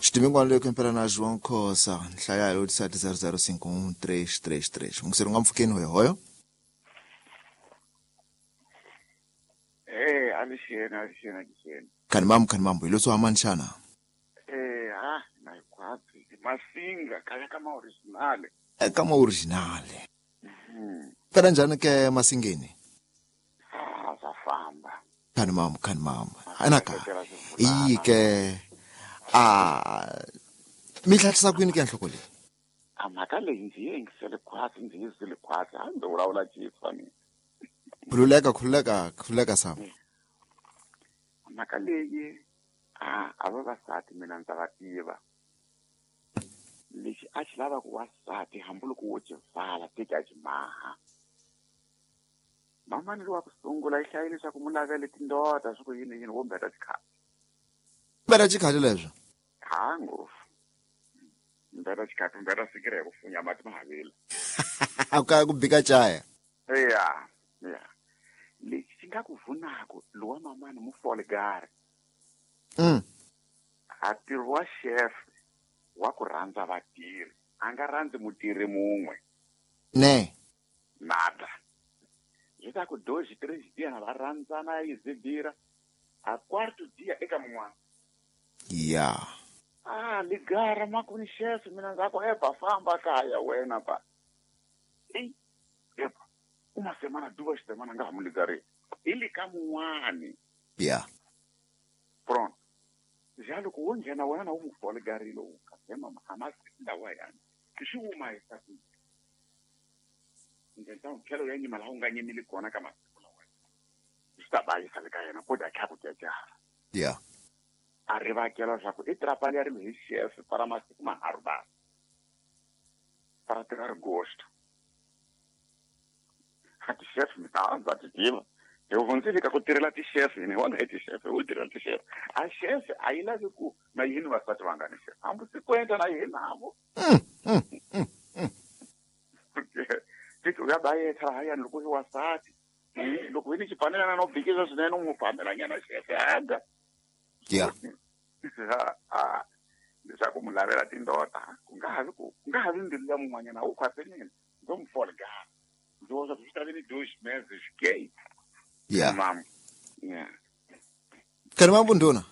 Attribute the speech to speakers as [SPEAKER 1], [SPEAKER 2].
[SPEAKER 1] Xidimingwana leyo kempela na João Khosa nhlaya yo 7005133. Mungiseri nga mpfukeni hoyo hoyo.
[SPEAKER 2] Eh, alixeni alixeni alixeni.
[SPEAKER 1] Khani mambo khani mambo hi leswo hamani xana?
[SPEAKER 2] Eh, ha na hikwatsi masinga kaya ka ma original.
[SPEAKER 1] Eka ma original. Pela njhani ke masingeni?
[SPEAKER 2] Ah, swa famba.
[SPEAKER 1] Khani mambo khani mambo. Anaka. Iyi ke a mi tlhatlhisa kwini ke nhloko leyi?
[SPEAKER 2] A mhaka leyi ndzi yi yingisele khwatsi ndzi yi zwile khwatsi a ndzi vulavula xiswa mina.
[SPEAKER 1] Khululeka khululeka khululeka Sam.
[SPEAKER 2] Mhaka leyi a a vavasati mina ndza va tiva. Lexi a xi lava ku wasati hambiloko wo xi vala teki a xi maha. Mamani lowa ku sungula yi hlayile leswaku mu lavele tindota swi ku yini yini wo mbeta xikhati.
[SPEAKER 1] Mbeta xikhati leswo.
[SPEAKER 2] Ha ngopfu. Mbeta xikhati mbeta sikiri ya ku funya mati ma havile.
[SPEAKER 1] A ka ku bika chaya.
[SPEAKER 2] Ya ya. Lexi xi nga ku vunako lowa mamani mu fole gari. A ntirho wa chef wa ku rhandza vatirhi a nga rhandzi mutirhi mun'we.
[SPEAKER 1] Ne.
[SPEAKER 2] Nada. Zwi ta ku dois, três dias na va rhandzana yi zibira a quarto dia eka mun'wana.
[SPEAKER 1] Ya.
[SPEAKER 2] Ah, ligara makuni chef mina ndza ku eba famba kaya wena ba. Ei, eba. Uma semana duas semana nga ha mu ligari. I le ka mun'wani.
[SPEAKER 1] Ya.
[SPEAKER 2] Pronto. Ja loko wo nghena wena na wu mu foligarile wu ka mama a masiku lawa yani. Swi wuma hi sa ku. Ndlela tlhelo ya nyima laha u nga nyimili kona ka masiku lawa. Swi ta bayisa le ka yena ko dya kha ku jajara.
[SPEAKER 1] Ya.
[SPEAKER 2] A rivakela leswaku i trapani ya ri hi chef para masiku manharhu ba. Para tirha ri gosto. A ti chef mi ta ndza ti tiva. Hi hundzile ka ku tirhela ti chef hina hi wona hi ti chef hi tirhela ti chef. A chef a yi lavi ku na yini vasati va nga ni chef. Hambi sikwenda na yini navo. Tiki u ya bayetha lahayani loko hi wasati. Loko hi ni xipanelana no bikisa swinene u n'wi phamelanyana chef handa.
[SPEAKER 1] Ya.
[SPEAKER 2] A leswaku mu lavela tindota ku nga havi ku ku nga havi mbilu ya mun'wanyana wu khwasenini ndzo mu folgara ndzi vona swi ta ve ni dois meses ke
[SPEAKER 1] Ya.
[SPEAKER 2] mama ya
[SPEAKER 1] Khani mambo nduna.